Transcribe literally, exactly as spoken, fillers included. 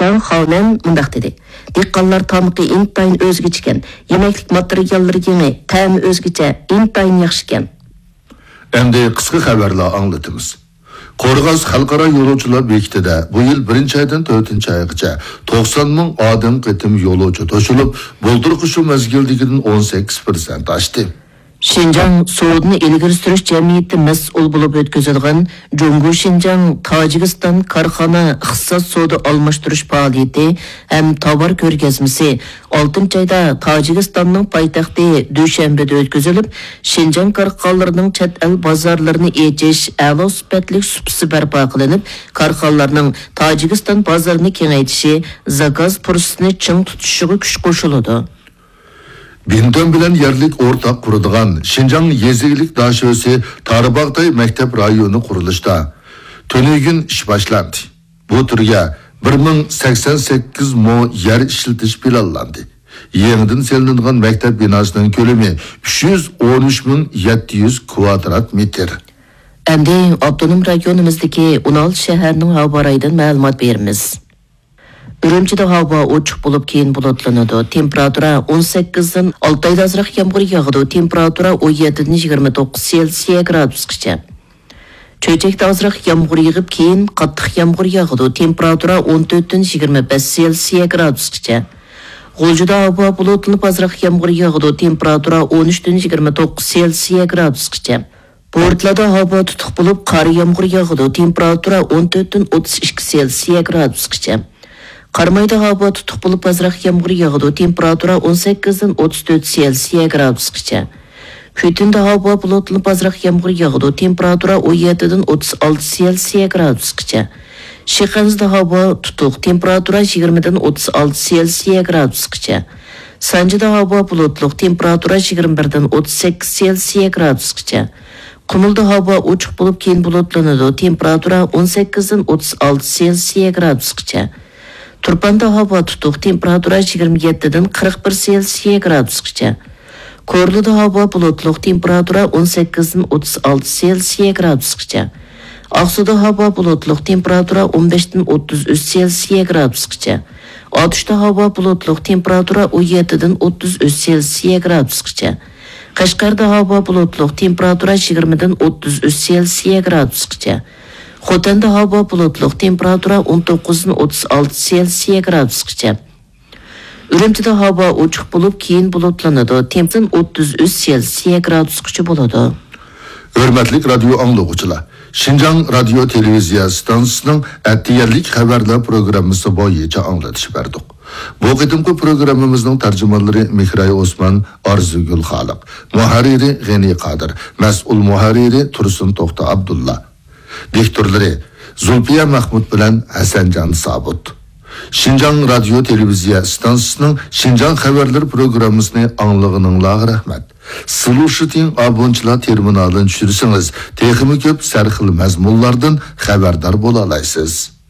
جاڭ خاۋمەن مۇنداق دېدى: دېھقانلار تامىقى ئىنتايىن ئۆزگىچىكەن، يېمەكلىك ماتېرىياللىرى يېڭى، تەمى ئۆزگىچە، ئىنتايىن ياخشىكەن. ئەمدى قىسقا خەۋەرلەر ئاڭلىتىمىز. قورغاس خەلقئارا يولۇچىلار بېكىتىدە بۇ يىل بىرىنچى ئايدىن تۆتىنچى ئايغىچە توقسان مىڭ ئادەم قېتىم يولۇچى توشۇلۇپ، بۇلتۇرقى شۇ مەزگىلدىكىدىن ئون سەككىز پىرسەنت ئاشتى. شىنجاڭ سودىنى ئىلگىرى سۈرۈش جەمئىيىتى مەسئۇل بولۇپ ئۆتكۈزىدىغان جۇڭگو شىنجاڭ تاجىكىستان كارخانا ئىقتىساد سودا ئالماشتۇرۇش پائالىيىتى ھەم تاۋار كۆرگەزمىسى ئالتىنچى ئايدا تاجىكىستاننىڭ پايتەختى دۈشەنبىدە ئۆتكۈزۈلۈپ، شىنجاڭ كارخانىلىرىنىڭ چەت ئەل بازارلىرىنى ئېچىش، ئەلا سۈپەتلىك سۇپىسى بەرپا قىلىنىپ، كارخانىلارنىڭ تاجىكىستان بازىرىنى كېڭەيتىشى، زاكاز پۇرسىتىنى چىڭ تۇتۇشىغا كۈچ قوشۇلىدۇ. بىنتۈەن بىلەن يەرلىك ئورتاق قۇرىدىغان شىنجاڭ يېزا ئىگىلىك داشۆسى تارىباغتاي مەكتەپ رايونى قۇرۇلۇشتا تۈنۈگۈن ئىش باشلاندى. بۇ تۈرگە بىر مىڭ سەكسەن سەككىز مو يەر ئىشلىتىش پىلانلاندى. يېڭىدىن سېلىنىدىغان مەكتەپ بىناسىنىڭ كۆلىمى ئۈچ يۈز ئون ئۈچ مىڭ يەتتە يۈز كۋادرات مېتىر. ئەمدى ئاپتونوم رايونىمىزدىكى ئون ئالتە شەھەرنىڭ ھاۋا رايىدىن مەلۇمات بېرىمىز. ئۈرۈمچىدە ھاۋا ئوچۇق بولۇپ، كېيىن بۇلۇتلىنىدۇ. تېمپېراتۇرا ئون سەككىزدىن، ئالتايدا ئازراق يامغۇر ياغىدۇ. تېمپېراتۇرا ئون يەتتىدىن يىگىرمە توققۇز سېلسىيە گرادۇسقىچە. چۆچەكتە ئازراق يامغۇر يېغىپ، كېيىن قاتتىق يامغۇر ياغىدۇ. تېمپېراتۇرا ئون تۆتتىن يىگىرمە بەش سېلسىيە گرادۇسقىچە. غۇلجىدا ھاۋا بۇلۇتلىنىپ، ئازراق يامغۇر ياغىدۇ. تېمپېراتۇرا ئون ئۈچتىن يىگىرمە توققۇز سېلسىيە گرادۇسقىچە. بورتالادا ھاۋا تۇتۇق بولۇپ، قارا يامغۇر ياغىدۇ. تېمپېراتۇرا ئون تۆتتىن ئوتتۇز ئىككى سېلسىيە گرادۇسقىچە. قارامايدا ھاۋا تۇتۇق بولۇپ، ئازراق يامغۇر ياغىدۇ. تېمپېراتۇرا ئون سەككىزدىن ئوتتۇز تۆت سېلسىيە گرادۇسقىچە. كۈتۈندە ھاۋا بۇلۇتلىنىپ، ئازراق يامغۇر ياغىدۇ. تېمپېراتۇرا ئون يەتتىدىن ئوتتۇز ئالتە سېلسىيە گرادۇسقىچە. شىخەنزىدە ھاۋا تۇتۇق. تېمپېراتۇرا يىگىرمىدىن ئوتتۇز ئالتە سېلسىيە گرادۇسقىچە. سانجىدا ھاۋا بۇلۇتلۇق. تېمپېراتۇرا يىگىرمە بىردىن ئوتتۇز سەككىز سېلسىيە گرادۇسقىچە. قۇمۇلدا ھاۋا ئوچۇق بولۇپ، كېيىن بۇلۇتلىنىدۇ. تېمپېراتۇرا ئون سەككىزدىن ئوتتۇز ئالتە سېلسىيە گرادۇسقىچە. تۇرپاندا ھاۋا تۇتۇق. تېمپېراتۇرا يىگىرمە يەتتىدىن قىرىق بىر سېلسىيە گرادۇسقىچە. كورلىدا ھاۋا بۇلۇتلۇق. تېمپېراتۇرا ئون سەككىزدىن ئوتتۇز ئالتە سېلسىيە گرادۇسقىچە. ئاقسۇدا ھاۋا بۇلۇتلۇق. تېمپېراتۇرا ئون بەشتىن ئوتتۇز ئۈچ سېلسىيە گرادۇسقىچە. ئاتۇشتا ھاۋا بۇلۇتلۇق. تېمپېراتۇرا ئون يەتتىدىن ئوتتۇز ئۈچ سېلسىيە گرادۇسقىچە. قەشقەردە ھاۋا بۇلۇتلۇق، تېمپېراتۇرا يىگىرمىدىن ئوتتۇز ئۈچ سېلسىيە گرادۇسقىچە. خوتەندە ھاۋا بۇلۇتلۇق، تېمپېراتۇرا ئون توققۇزدىن ئوتتۇز ئالتە سېلسىيە گرادۇسقىچە. ئۈرۈمچىدە ھاۋا ئوچۇق بولۇپ، كېيىن بۇلۇتلىنىدۇ، تېمپېراتۇرا ئوتتۇز ئۈچ سېلسىيە گرادۇسقىچە بولىدۇ. ھۆرمەتلىك رادىيو ئاڭلىغۇچىلار، شىنجاڭ رادىيو تېلېۋىزىيە ئىستانسىسىنىڭ ئەتىگەنلىك خەۋەرلەر پروگراممىسى بويىچە ئاڭلىتىش بەردۇق. بۇ قېتىمقى پروگراممىمىزنىڭ تەرجىمانلىرى مېھراي ئوسمان، ئارزۇگۈل خالىق، مۇھەررىرى غېنى قادىر، مەسئۇل مۇھەررىرى تۇرسۇن توختى ئابدۇللا، دىكتورلىرى زۇلپىيە مەخمۇت بىلەن ھەسەنجان سابىت. شىنجاڭ رادىيو تېلېۋىزىيە ئىستانسىسىنىڭ شىنجاڭ خەۋەرلىرى پروگراممىسىنى ئاڭلىغىنىڭلارغا رەھمەت. سلۇشىتىڭ ئابونچىلار تېرمىنالىنى چۈشۈرسىڭىز، تېخىمۇ كۆپ سەرخىل مەزمۇنلاردىن خەۋەردار بولالايسىز.